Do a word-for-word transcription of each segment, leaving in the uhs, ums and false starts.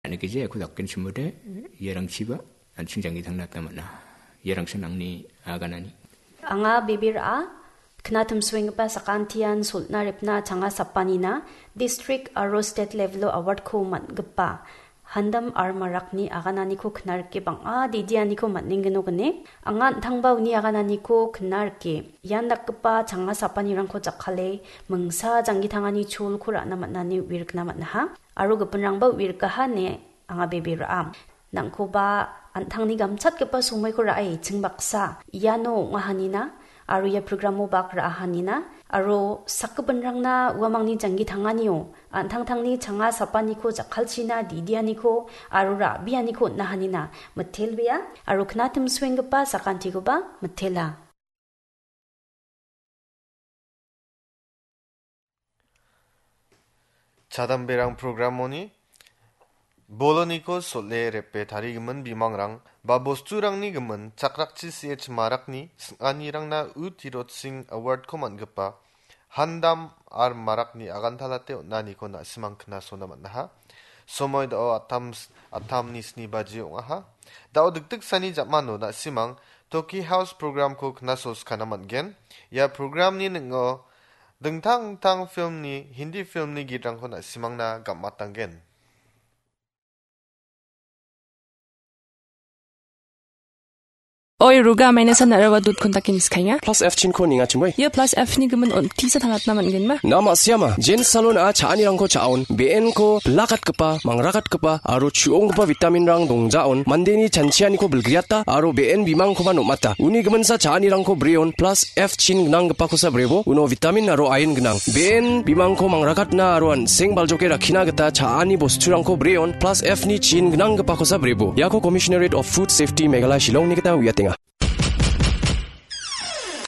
Nikija, iako dakgenchimode, iarangchiba an·ching janggi tangna gita man·a. Iarangsan angni aganani. Anga Bebe Ra·a, knatimsoenggipa sakantian solna repna changa sapanina district aro state level-o award-ko man·gipa Handam R Marakni agananiko knarike bang·a didianiko man·enggino gine. Anga an·tangba uni agananiko knarike ian dakgipa changa sapanirangko jakkale mingsa janggi tangani cholko ra·na man·ani uirikna man·aha. Aro gipinrangba uirikaha ine anga Bebe Ra·a. Nangkoba an·tangni gamchatgipa somoiko ra·e ching baksa iano ong·ahanina, aro ia programo bak ra·ahanina, aro sakgipinrangna uamangni janggi tanganio an·tangtangni changa sapaniko jakkalchina didianiko aro ra·bianiko on·ahanina mitelbea, aro knatimsoenggipa sakantikoba mitela. Chadamberang programoni boloniko sole repe tarigimin bimangrang ba bosturangni gimin Chakrakchi C H Marakni sing·anirangna U Tirotsing Award-ko man·gipa Handam R Marakni agantalate on·aniko na·simang knasona man·aha. Somoi dao atam, atamni sni baji ong·aha. Dao dikdiksani jamano na·simang Toki House programko knasoskana man·gen. Ia programni ning·o dingtang dingtang filmni, Hindi filmni gitrangko na·simangna gam·atanggen. Oi, Ruga, maina san nara wadut kontakin skainga. Plus F chinko ninga chumoi. Ia plus F ni gimin on tisa tangatna man·genma? Nama siama, Jen Salon a cha·anirangko cha·on, B N ko bilakatgipa, mangrakatgipa, aro chu·onggipa vitamin rang dongjaon, mandeni chanchianiko bilgriata, aro B N bimangkoba nom·ata. Uni giminsa cha·anirangko breon, plus F chin gnanggipakosa brebo, uno vitamin aro iron gnang. B N bimangko mangrakatna aro an·seng baljoke rakkina gita cha·ani bosturangko breon, plus F ni chin gnanggipakosa brebo. Iako Commissionerate of Food Safety Meghalaya Shillongni gita uiatenga.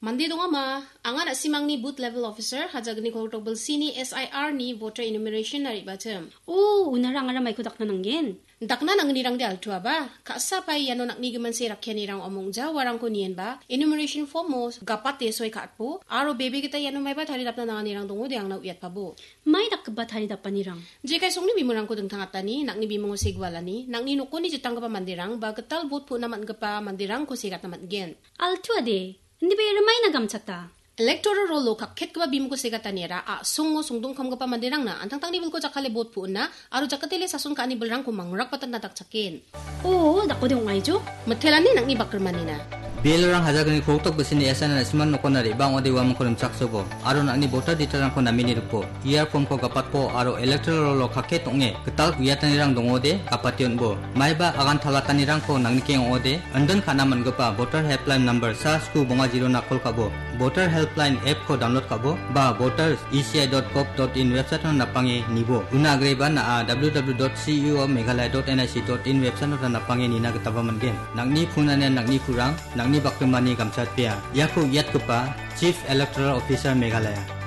Mande dongama, anga na·simangni booth level officer, hajagni kolgrikdok bilsini S I R ni voter enumeration-na re·bachim. O, unara angara maiko dakna nanggen? Dakna nangnirangde altuaba, ka·sa pae iano nang·ni giminse rakkianirang omongja uarangko nienba, enumeration form-o gapate soi ka·atbo, aro bebe gita iano maiba taridapna nanganirang dongode angna uiatpabo. Mai dakgipa taridapanirang? Jekai songni bimungrangko dingtangatani, nang·ni bimungo segualani, nang·ni nokoni jitanggipa manderang, ba gital bot pu·na man·gipa manderangko segatna man·gen. Altuade, indiba ia rimaina gamchata. Electoral roll-o kakketgipa bimungko segataniara a·songo songdongkamgipa manderangna an·tangtangni bilko jakkale bot pu·ona aro jakatele sason ka·ani bilrangko mangrakbatatna dakchaken. O, dakode ong·aijo? Mitelani nang·ni bakrimanina. B L O-rang hajagni kolgrikdok bisini S I R na na·simang nokona re·bang ong·ode uamangko rimchaksobo, aro nang·ni voter detail-rangko namini rikbo. E R form-ko gapatbo aro electoral roll-o kakket ong·e gital uiatanirang dongode gapate on·bo. Maiba agantalatanirangko nangnikeng ong·ode, indin ka·na man·gipa voter helpline number sa sku bonga zero-na kol ka·bo, voter helpline app-ko download ka·bo, ba voters E C I dot gov dot in website-ona napange nibo. Una agreba na·a W W W dot C E O Meghalaya dot N I C dot in website-ota napange nina gitaba man·gen. Nang·ni phone-ani nang·ni kurang, nang·ni bakrimani gamchatbea. Iako uiatgipa Chief Electoral Officer Meghalaya.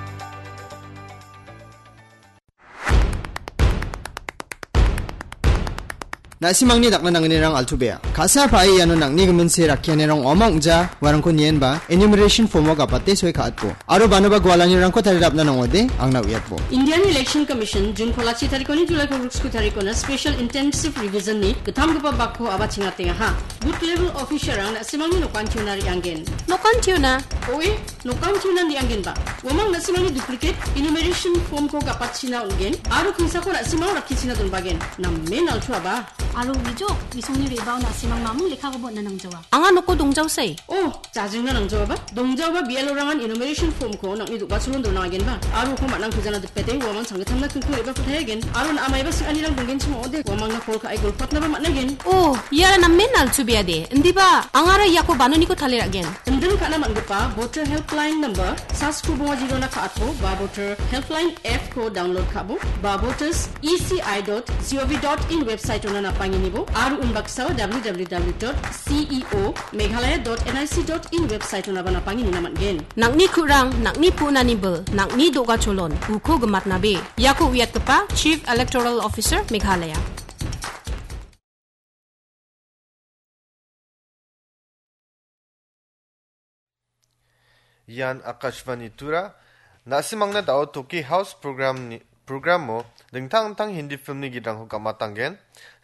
Na·simangni dakna nangnirang altuabea. Ka·sa pae iano nang·ni giminse rakkianirang ong·a ong·ja uarangko nienba enumeration form-o gapate soi ka·atbo. Aro banoba gualanirangko taridapna nang·ode angna uiatbo. Indian Election Commission June kolachi tarikoni July kolgriksku tarikona Special Intensive Revision-ni gittamgipa bakko aba chingatengaha. Booth level officer-rang na·simangni nokantiona re·angen. Nokantiona? Oe, nokantiona re·angenba. Uamang na·simangni duplicate enumeration form-ko gapatchina on·gen, aro kingsako na·simang rakkichina donbagen. Namen altuaba. Aro uijo, isongni re·bao na·simang mamung lekkakoba on·na nangjawa. Anga noko dongjaosai. Oh, jajingna nangjaoba? Dongjaoba B L O-rangan enumeration form-ko nang·ni do·gacholon dona agenba. Aro uko man·ang pujana dipete, uamang sanggittamna kingko re·bako tayagen. Aro na·a maiba sing·anirang donggenchim ong·ode, uamangna kol ka·e golpatnaba man·agen. Oh, iara namen altuabeade. Indiba, angara iako banoniko tale ra·gen. Indin ka·na man·gipa voter helpline number sa sku bonga zero-na ka·atbo, ba voter helpline app-ko download ka·bo, ba voters E C I dot G O V dot in website-ona napangenibo, aro unbaksao W W W dot C E O Meghalaya dot N I C dot in website-onaba napangenina man·gen. Nang·ni ku·rang, nang·ni pu·nani bil, nang·ni do·gacholon, uko gimatnabe. Iako uiatgipa Chief Electoral Officer Meghalaya. Ian Akashvani Tura, na·simangna da·o Toki House program-ni, programo dingtang dingtang Hindi filmni gitrangko gam·atanggen.